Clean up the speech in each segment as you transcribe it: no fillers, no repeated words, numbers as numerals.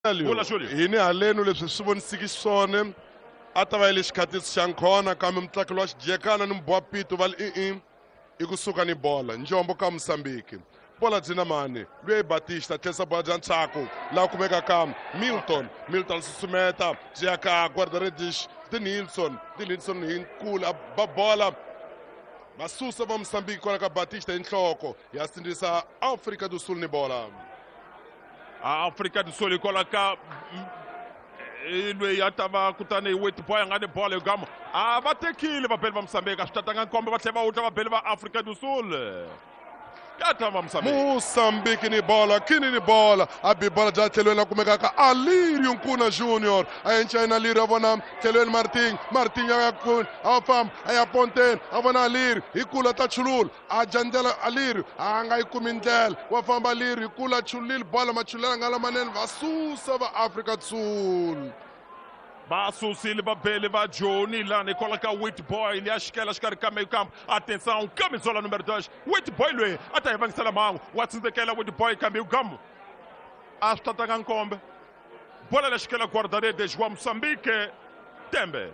Vula Julio. Hi ni halenu leswi swi vonisiki xiswona a ta va yi le xikhatisi xa nkhona kambe mutlakelo wa xijekana ni mubwapito va li i-i i kusuka ni bola njombo ka Mosambiki bola byi na mani luya i Batista tlherisa bola bya ntshaku laha kumeka ka Milton. Milton susumeta byi ya ka guarda-redes De Nilsson. De Nilsson hi nkulu a ba bola va susa va Mosambiki kwala ka Batista hi nhloko ya sindzisa Afrika do Sul ni bola. Afrika do Sul hikwalaho ka loyi a ta va kutani Witbooi a nga ni bolo hi gamo a va tekile vabeli va Mosambiki a swi tatanga nkombe va tlhela va wutla vabeli va Afrika do Sul ya ta va Mosambiki. Mosambiki ni bola kini ni bola a bi bola bya tlhelweni la kumekaka Alirio Nkuna Junior a enca yena Alirio a vona tlhelweni Martin. Martin ya a famba a ya ponteni a vona Alirio hi kula ta chulula a dya ndlela Alirio a nga yi kumi ndlela wa famba Alirio hi kula chulile bola machulela nga lamanene va susa va Afrika Sul. Va susile vabeli va Joni lani hikwalaho ka Witbooi liya xikela xikarhi ka meio campo. Atenção, camisola número 2 Witbooi loyi a ta hi vangisela mhangu wa tsindzekela Witbooi kambe ugamu a swi tatanga nkombe bola la xikela guarda-redes wa Mozambique Tembe.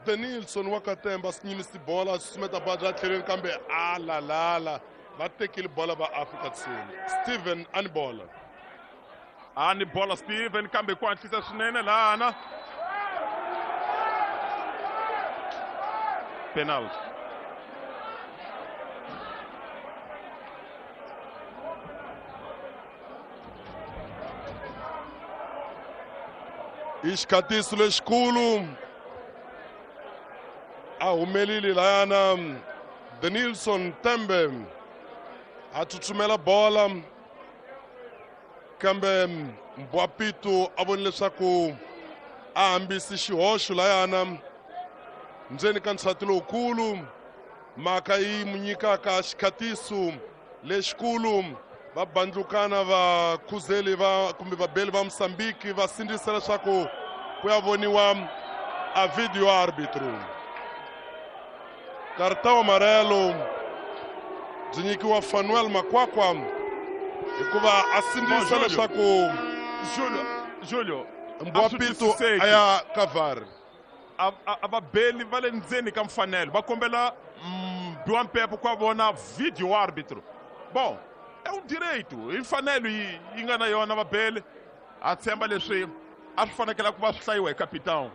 Denilson wa Katemba a nyimisi bola a susumeta bola bya tlhelweni kambe a lalala va tekile bola va Afrika Sul. Steven a ni bola. A ni bola Steven kambe ku hatlisa swinene lana. Penalty. I xikhatiso lexikulu a humelile layana Denilson Tembe a tsutsumela bola kambe Mbwapitu a voni leswaku a hambisi xihoxo layana ndzeni ka nsati lowukulu mhaka yi mu nyikaka xikhatiso lexikulu va bandlukana va khuzeli va kumbe vabeli va Mosambiki va sindzisa leswaku ku ya voniwa a video arbitro. Cartão amarelo byi nyikiwa Fanuel Makwakwa hikuva a sindzisa leswaku Julio Mbwapitu a ya ka VAR. A vabeli va le ndzeni ka mfanelo va kombela biwa mpepo ku vona video arbitro. Bom, é um direito, i mfanelo yi nga na yona vabeli. A tshemba leswi a swi fanekela ku va swi hlayiwa hi capitão.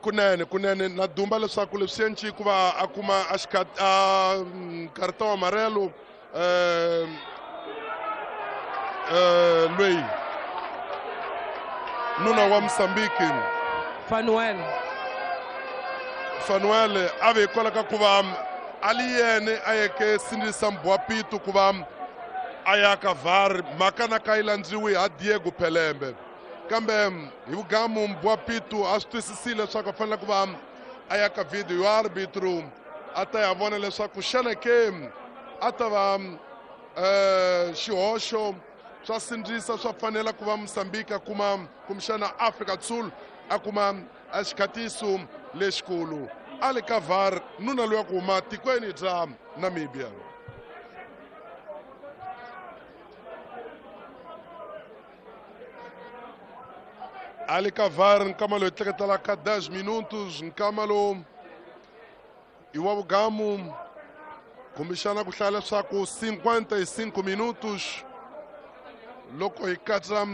Kunene kunene na dumba leswaku leswi enci ku va a kuma a a cartão amarelo loyi nuna wa Mosambiki Fanuel. Fanuel a ve hikwalaho ka ku va a li yene a yeke sindzisa Mbwapitu ku va a ya ka VAR mhaka na ka yi landziwi ha Diego Pelembe kambe hi vugamu Mbwapitu a swi twisisile leswaku a fanele ku va a ya ka video ya arbitro a ta ya vona leswaku xana ke a ta va xihoxo swa sindzisa swa fanela ku va Mosambiki a kuma kumbexana Afrika Sul a kuma xikhatiso lexikulu a le ka VAR nuna loyi a ku huma tikweni bya Namibia. A le ka VAR nkama loyi tleketelaka 10 minutos nkama lowu i wa vugamu kumbexana ku hlaya leswaku 55 minutos loko hi katsa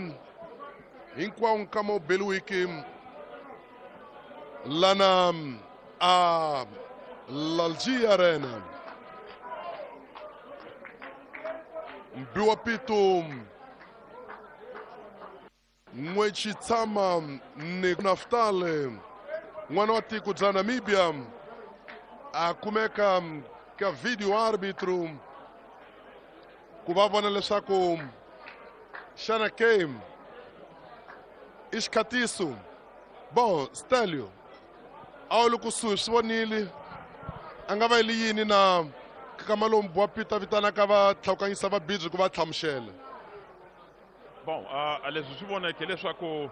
hinkwawo nkama wu beliwiki lana a Lalji Arena. Mbiwa Pitu N'wechitshama ni Naftali n'wana wa tiko bya Namibia a kumeka ka video arbitro ku va vona leswaku xana game i xikhatiso. Bon Stelio a wu le kusuhi swi vonile a nga va yili yini na kama lomu Mbwa Pito a vitanaka va tlhawukanyisa va bidzi ku va hlamusela. Bon, leswi swi voneke leswaku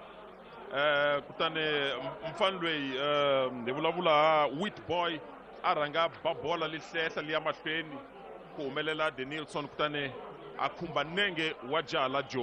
kutani mfana loyi hi vulavula Witbooi a rhanga ba bola li hlehla liya mahlweni ku humelela Denilson kutani A khumba nenge wa jaha la Joni.